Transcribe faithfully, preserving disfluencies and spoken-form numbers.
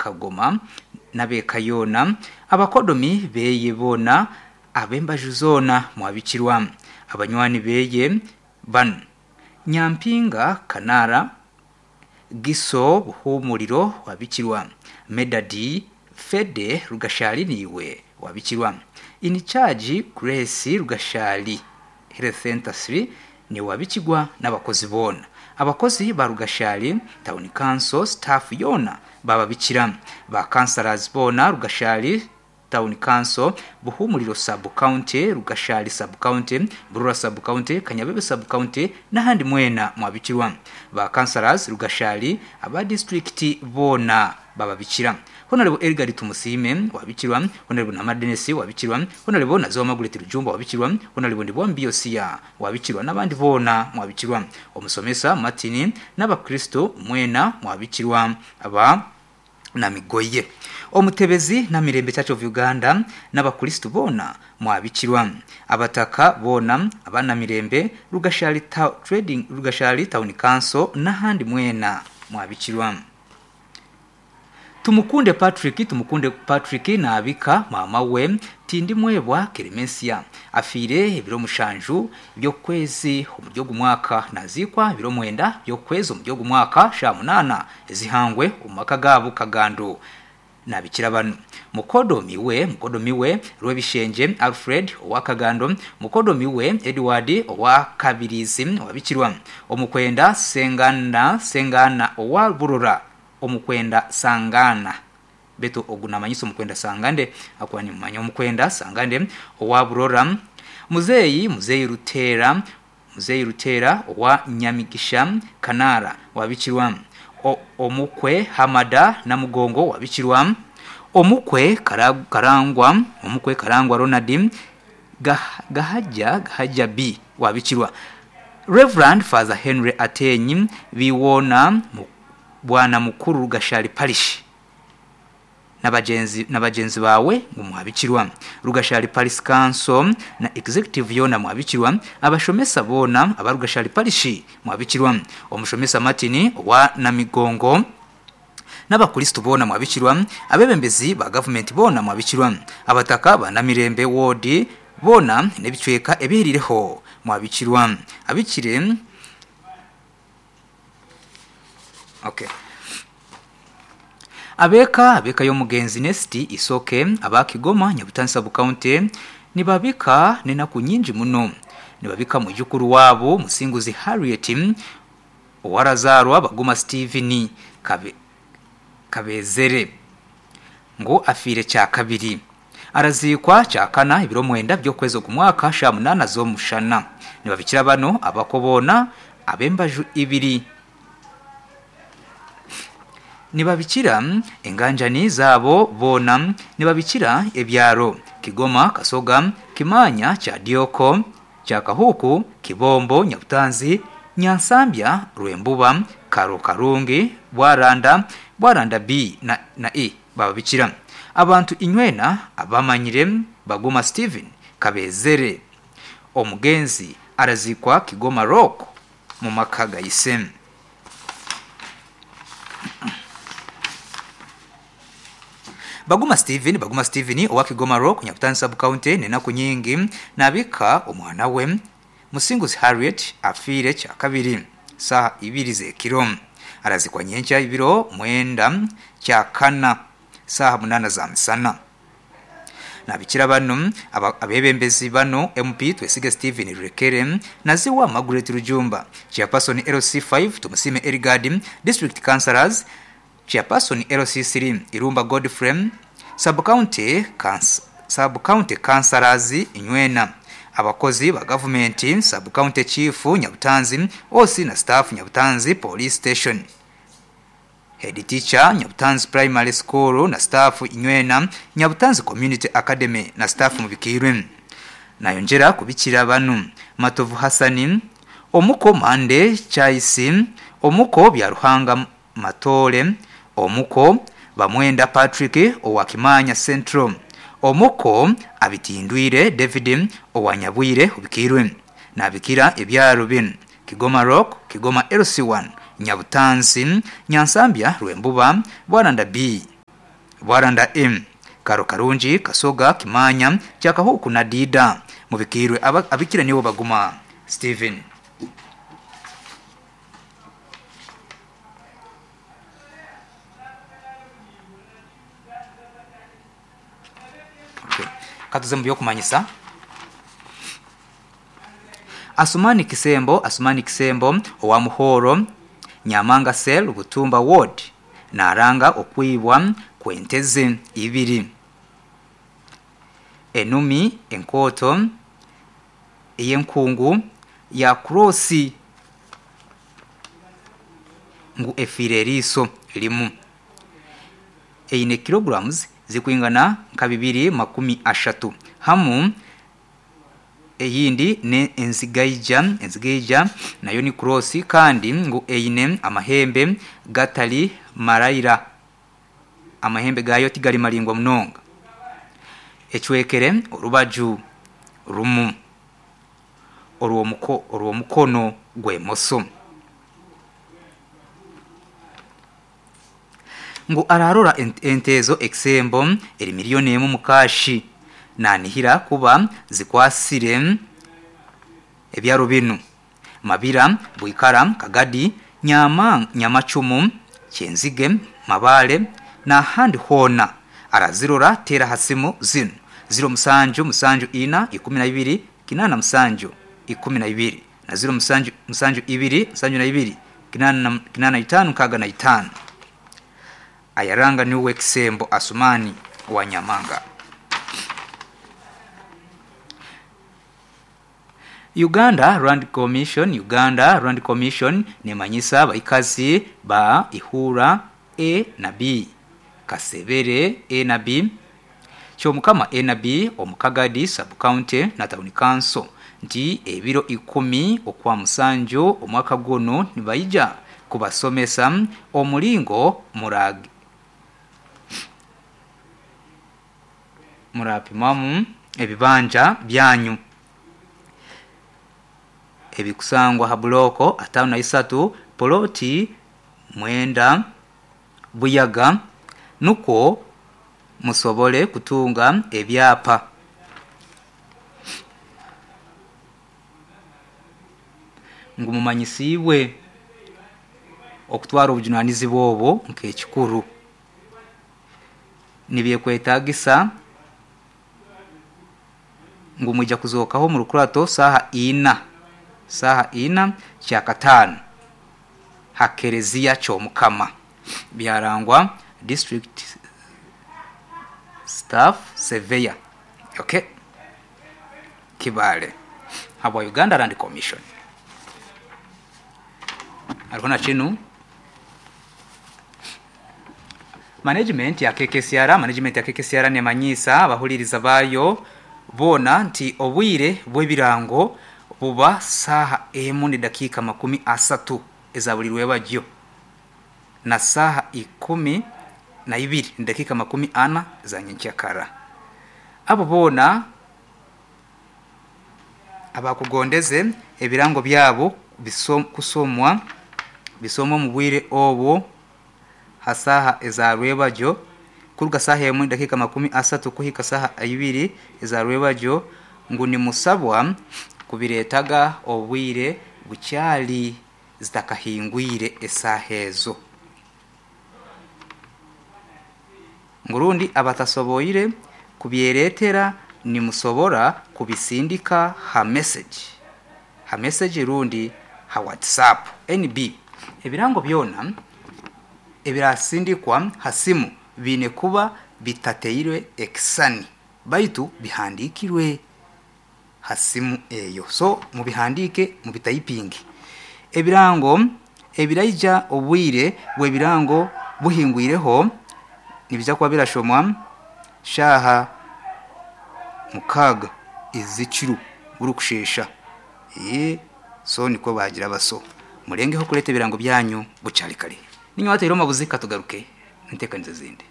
Kagoma n'abeeka yoona, abakodomi beye boona, ab'embaju zoona mwabikirwa. Abanywani beye banu: Nyampinga Kanara, Giso Buhumuriro wabikirwa, Medadi Fede Rugashali niwe wabikirwa, In charge Grace Rugashali Health Center three ni wabikirwa n'abakozi boona. Abakozi ba Rugashali Town Council staff yoona bababikira, ba councillors boona Rugashali Town Council, Buhumuriro Sub County, Rugashali Sub County, Burura Sub County, Kanyabebe Sub County n'ahandi mwena mwabikirwa. Ba councillors Rugashali aba district boona bababikira. Honorable Edgar Tumusiime wabikirwa, Honorable Namara Denis wabikirwa, Honorable Nazowa Margaret Rujumba wabikirwa, Honorable Ndibwambi Yosia wabikirwa n'abandi boona mwabikirwa. Omusomesa Martin n'abakristo mwena mwabikirwa aba Namigoye. Omutebezi na Mirembe Church of Uganda n'abakristo boona mwabikirwa. Abataka boona abana Mirembe Rugashali ta Trading Rugashali Town Council n'ahandi mwena mwabikirwa. Tumukunde Patrick Tumukunde Patrick naabika mama we Tindi Mwebwa Keremensia afiire ebiro mushanju by'okwezi omuri ogu mwaka, nazikwa ebiro mwenda by'okwezi omuri ogu mwaka sha munana ezihangwe omu maka gaabo Kagando. Nabikira bano: mukodomi we mukodomi we Rwebishenje Alfred owa Kagando, mukodomi we Edward owa Kabirizi wabikirwa, omukwenda Sengana Sengana owa Burora, omukwenda Sangana betu ogu namanyisa omukwenda Sangande akuba nimumanya omukwenda Sangande owa Burora, muzeeyi muzeeyi Rutera muzeeyi Rutera owa Nyamigisha Kanara wabikirwa, o, omukwe Hamada Namugongo wabikirwa, omukwe Karangwa omukwe Karangwa Ronald Gahaja Gahaja B wabikirwa, Reverend Father Henry Atenyi Biwona Bwana Mukuru Rugashali Parish n'abagenzi n'abagenzi bawe ngo mwabikirwa, Rugashali Parish Council na executive yona mwabikirwa, abashomesa bona aba Rugashali Parish mwabikirwa, omushomesa Martin wa Namigongo n'abakristo bona mwabikirwa, abebembezi ba government bona mwabikirwa, abataka ba Namirembe ward bona n'ebicweka ebihirireho mwabikirwa, abikire. Okay. Abeka abeka y'omugenzi Nesti Isoke aba Kigoma Nyabutansi Sub County nibabika nenaku nyingi muno. Nibabika mwijukuru wabo Musinguzi Harriet owarazarwa Baguma Steven Kabe, Kabezere ngo afiire kya kabiri, arazikwa kyakana ebiro mwenda by'okwezi ogu mwaka sha munana z'omushana. Nibabikira bano abakobona ab'embaju ibiri. Nibabikira enganjani zabo boona, nibabikira ebyaro Kigoma, Kasoga, Kimanya, Kyadioko, Kyakahuku, Kibombo, Nyabutanzi, Nyansambya, Rwembuba, Karo Karungi, Bwaranda, Bwaranda B na, na E bababikira. Abantu inywena abamanyire Baguma Steven Kabezere omugenzi arazikwa Kigoma Rock mu maka gayise. Baguma Steven Baguma Steven owa Kigoma Rock Nyabutansi Sub County nenaku nyingi nabika omwana we Musinguzi Harriet afiire kya kabiri saha ibiri z'ekiro, arazikwa nyenkya ibiro mwenda kya kana saha munana za misana. Nabikira bano abebembezi bano M P Twesige Steven Rekere, Naziwa Margaret Rujumba, Chairperson L C five Tumusime Erigadi, District Councillors, Chairperson L C three Irumba Godfrey, Sub-County Sub-County Councillors Inywena, abakozi ba government, Sub-County Chief Nyabutanzi, O C na staff Nyabutanzi Police Station, Head Teacher Nyabutanzi Primary School na staff Inywena, Nyabutanzi Community Academy na staff mubikirwe. Nayongera kubikira banu Matovu Hassani, omuko Mande Chaisi, omuko Byaruhanga Matole, omuko Bamwenda Patrick owa Kimanya Central, omuko Abitindwire David owa Nyabwire ubikirwe. Nabikira ebyaro bino: Kigoma Rock, Kigoma L C one, Nyabutanzi, Nyansambya, Rwembuba, Bwaranda B. Bwaranda M Karo Karungi Kasoga Kimanya Kyakahuku na Dida mubikirwe abikira nibo baguma Steven. Okay. Katuze mu byokumanyisa. Asumani Kisembo, Asumani Kisembo owa Muhoro Nyamanga Cell Butumba Ward naranga okwibwa kwenteze ibiri enumi enkoto eyenkungu ya crossi ngu efire eriso limu eine kilograms zikwingana nka bibiri makumi ashatu hamu eyindi ne enzigaija enzigaija nayo ni cross kandi ngu eine amahembe gatali maraira amahembe gayo tigali malingwa munonga echwekere orubaju rumu orwo orwo mukono gwemoso ngu ararora entezo eksembo eri miliyoni emu mukashi nanihira kuba zikwasire ebyaro binu Mabira Bwikara Kagadi Nyama Nyamachumu Kyenzige Mabale na handi hona arazirora tera hasimu zinu ziro musanju musanju ina ikumi na ibiri kinana musanju ikumi na ibiri na ziro musanju musanju ibiri musanju na ibiri kinana kinana itanu kaga na itanu. Ayaranga niwe Kisembo Asumani wa Nyamanga. Uganda Land Commission Uganda Land Commission nemanyisa baikazi ba Ihura A na B Kasebere A na B Kyomukama A na B Omukagadi Sub County na Town Council nti ebiro ikumi okwa musanju omwaka guno nibaija kubasomesa omulingo murag murapimamu ebibanja byanyu ebikusangwa ha bloko atano na isatu poloti mwenda Buyaga nuko musobole kutunga ebyapa. Ngumumanyisiwe okutwara obujunanizi bwobo nk'ekikuru nibyekwetagisa ngumujja kuzokaho mu rukurato saha ina saha ina kyakatano hakerezia Kyomukama byarangwa district staff surveyor okay Kibale habwa Uganda Land Commission. Arikona chinu management ya K K C R management ya K K C R nemanyisa abahuliriza bayo bona nti obwire bw'ebirango buba saha emu ni dakika makumi asatu ezabulirwe bajyo na saha ikumi na ibiri ni dakika makumi ana za nyenkyakara. Abo bona abakugondeze ebirango byabo bisom, kusomwa bisomwa mu bwire obwo hasaha ezarwebajo kuruga saha emu dakika makumi asatu kuhika saha ibiri ezarwebajo ngu ni musabwa kubiretaga obwire bukyali zitakahingwire esaha ezo. Ngurundi abatasoboire kubyeretera ni musobora kubisindika ha message ha message rundi ha WhatsApp N B. Ebirango byona ebirasindikwa hasimu bine kuba bitateirwe ekisani baitu bihandikirwe hasimu eyo, so mubihandike mubitayipingi. Ebirango ebiraija obwire bwebirango buhingwireho nibija kuba birashomwa shaha mukaga izikiru burukushesha eh so niko bagira baso murengeho kuleta ebirango byanyu bucari kare. Ninyo watero mabuzika tugaruke ntekanize zindi.